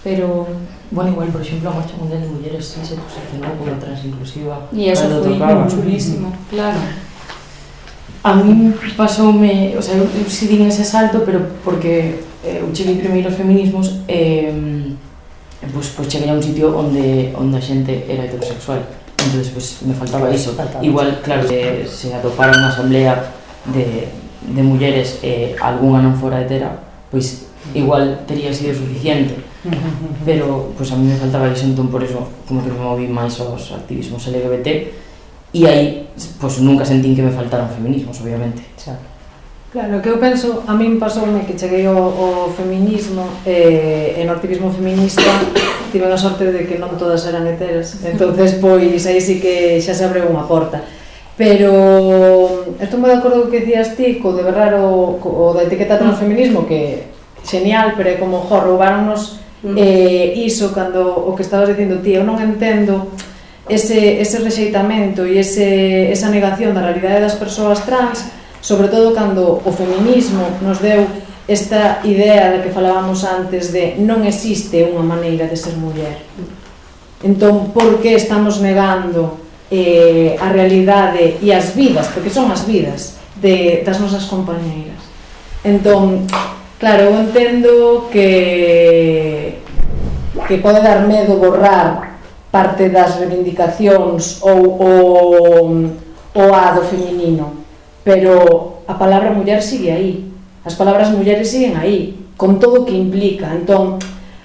pero... Bueno, igual, por exemplo, a Marcha Mundial de Mulleres sí se posicionou como transinclusiva. E eso foi chulísimo, claro. A mí pasoume, o sea, eu si din ese salto, pero porque eu cheguei primeiro aos feminismos pois cheguei a un sitio onde a xente era heterosexual, entonces pois me faltaba iso. Igual, claro, se atopara unha asamblea de mulleres e algunha non fora hetera, pois igual tería sido suficiente, pero pois a mí me faltaba iso, entón por eso como que me moví máis aos activismos LGBT e aí pois nunca sentín que me faltaran feminismos, obviamente. Claro, que eu penso, a min pasoume que cheguei ao feminismo e no activismo feminista tive a sorte de que non todas eran heteras, entonces pois aí sí que xa se abre unha porta. Pero estou moi de acordo co que dicías ti, co de berrar o da etiqueta transfeminismo, que genial, pero é como, roubaronnos iso cando o que estabas dicindo ti, eu non entendo ese rexeitamento e esa negación da realidade das persoas trans, sobre todo cando o feminismo nos deu esta idea de que falábamos antes de non existe unha maneira de ser muller. Entón, por que estamos negando a realidade e as vidas, porque son as vidas das nosas compañeiras? Entón, claro, eu entendo que pode dar medo borrar parte das reivindicacións ou a do feminino, pero a palabra muller sigue aí, as palabras mulleres siguen aí, con todo o que implica. Entón,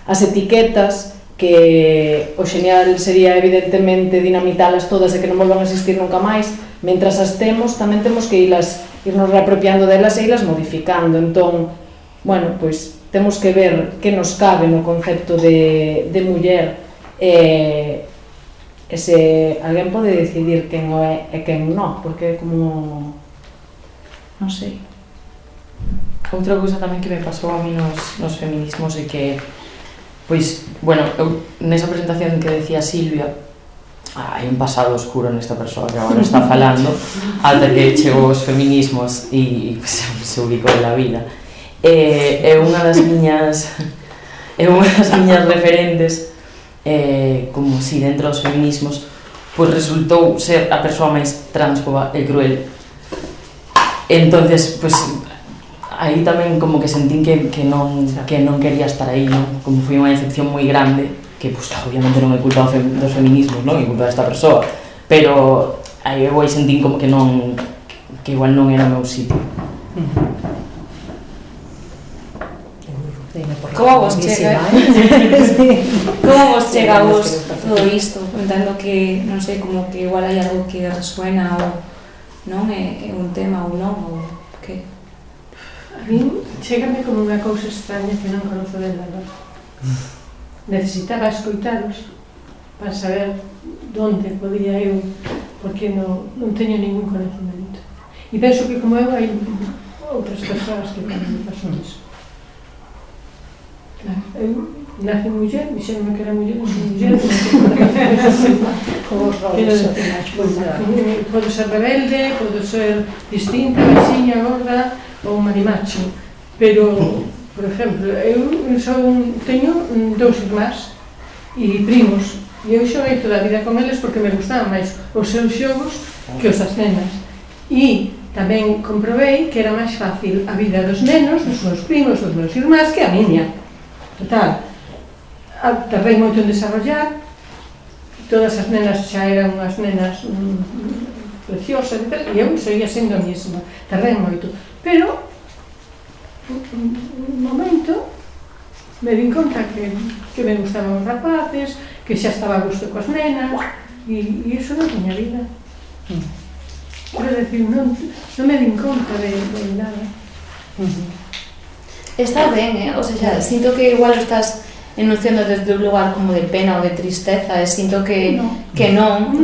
as etiquetas, que o xenial sería evidentemente dinamitalas todas e que non volvan a existir nunca máis, mentras as temos, tamén temos que irnos reapropiando delas e irlas modificando. Entón, bueno, pois temos que ver que nos cabe no concepto de muller e se alguén pode decidir quen o é e quen non, porque é como... non sei. Outra cousa tamén que me pasou a mí nos feminismos é que, pois, bueno, eu nesa presentación que decía Silvia, hai un pasado oscuro nesta persoa que agora está falando, ata que chegou os feminismos e se ubicou en la vida. É unha das miñas referentes, como si dentro dos feminismos, pois resultou ser a persoa máis transfoba e cruel. Entonces, pois, aí tamén como que sentín que non quería estar aí, non? Como foi unha decepción moi grande, que, pois, obviamente non é culpa dos feminismos, non? É culpa desta persoa, pero aí eu aí sentín como que non, que igual non era o meu sitio. Como vos chega? Como vos chega a vos todo isto? Entendo que, non sei, como que igual hai algo que resuena ou non é un tema ou non, ou que? A mí chégame como unha cousa extraña que non conozo de nada. Necesitaba escoitaros para saber onde podía eu, porque non teño ningún conhecimento. E penso que como eu hai outras persoas que tamén me pasou iso. Eu nací muller, dixéronme que era muller, non son muller, Como os roles sociais, podo ser rebelde, podo ser distinta, baixinha, gorda ou marimacho, pero, por exemplo, eu teño dous irmás e primos, e eu xoguei toda a vida con eles porque me gustaban máis os seus xogos que os das nenas, e tamén comprobei que era máis fácil a vida dos nenos, dos meus primos, dos meus irmás, que a miña. Total, tardei moito en desarrollar, todas as nenas xa eran unhas nenas preciosas e tal, e eu seguía sendo a mesma, tardei moito, pero un momento me din conta que me gustaban os rapaces, que xa estaba a gusto coas nenas, e iso non tiña vida. Quero dicir, non me din conta de nada. Está ben, o sea, sinto que igual estás enunciando desde un lugar como de pena ou de tristeza, e sinto que non,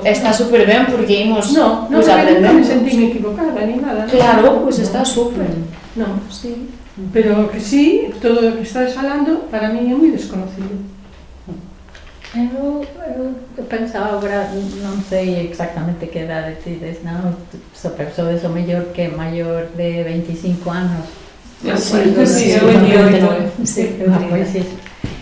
está super ben porque imos aprender. Non me sentí equivocada ni nada. Claro, pois está super. Non, sí. Pero que sí, todo o que estás falando para mí é moi desconocido. Eu pensaba agora, non sei exactamente que edade tides, non? Sodes o mellor que maior de 25 anos. Sí, eu 28. Pois